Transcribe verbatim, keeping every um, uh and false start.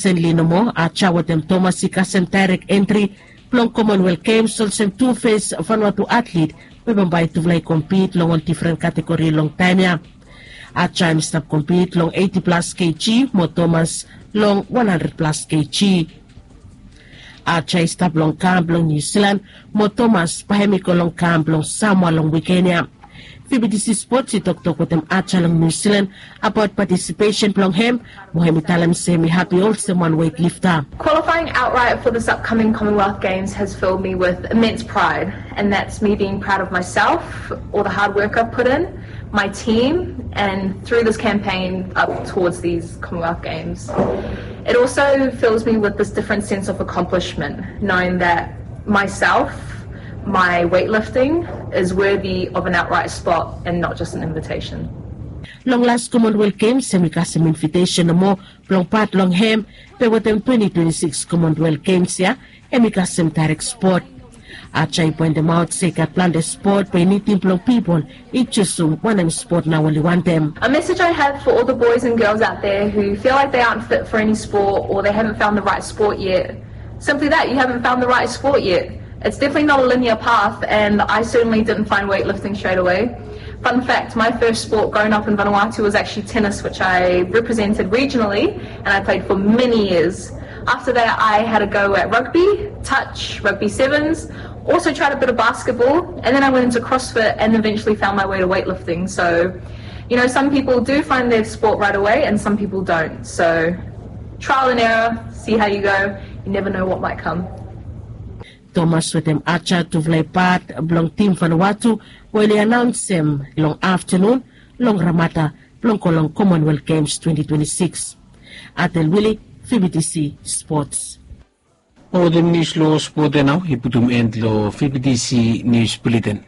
Senli nomo, Aja wetem Tomas i kasem daerek entri blong Commonwealth Games olsem tu fes Vanuatu atlet we bambae tufala i kompit long ol difren kategori long taem ya. Aja hem i stap kompit long eiti plas kg mo Tomas long wan handred plas kg. Aja i stap long kam blong Niu Silan mo Tomas bae hem i go long kam blong Samoa long wiken ya. Fibidisi Spots i toktok wetem Aja long Niu Silan abaot patisipesen blong hem mo hem i talem se hem i hapi olsem wan weightlifter. Qualifying outright for this upcoming Commonwealth Games has filled me with immense pride, and that's me being proud of myself, all the hard work I've put in, my team, and through this campaign up towards these Commonwealth Games. It also fills me with this different sense of accomplishment, knowing that myself, my weightlifting, is worthy of an outright spot and not just an invitation. Long las Commonwealth Games hem i kasem invitesen nomo blong pat long hem, be wetem twenti twenti sikis Commonwealth Games ya hem i kasem daerek spot. Aja i poentemaot se i gat plante spot be i nidim blong pipol i jusum wanem spot nao oli wantem. A message I have for all the boys and girls out there who feel like they aren't fit for any sport or they haven't found the right sport yet. Simply that, you haven't found the right sport yet. It's definitely not a linear path, and I certainly didn't find weightlifting straight away. Fun fact, my first sport growing up in Vanuatu was actually tennis, which I represented regionally and I played for many years. After that, I had a go at rugby, touch, rugby sevens, also tried a bit of basketball, and then I went into CrossFit and eventually found my way to weightlifting. So, you know, some people do find their sport right away and some people don't. So, trial and error, see how you go. You never know what might come. Tomas wetem Aja tufala i pat blong tim Vanuatu we oli anaonsem long aftenun long Ramada blong go long Commonwealth Games twenti twenti sikis. Atel Wili, Fibidisi Spots. Mo wetem nius long spot ya nao i putum en long Fibidisi Nius Buleten.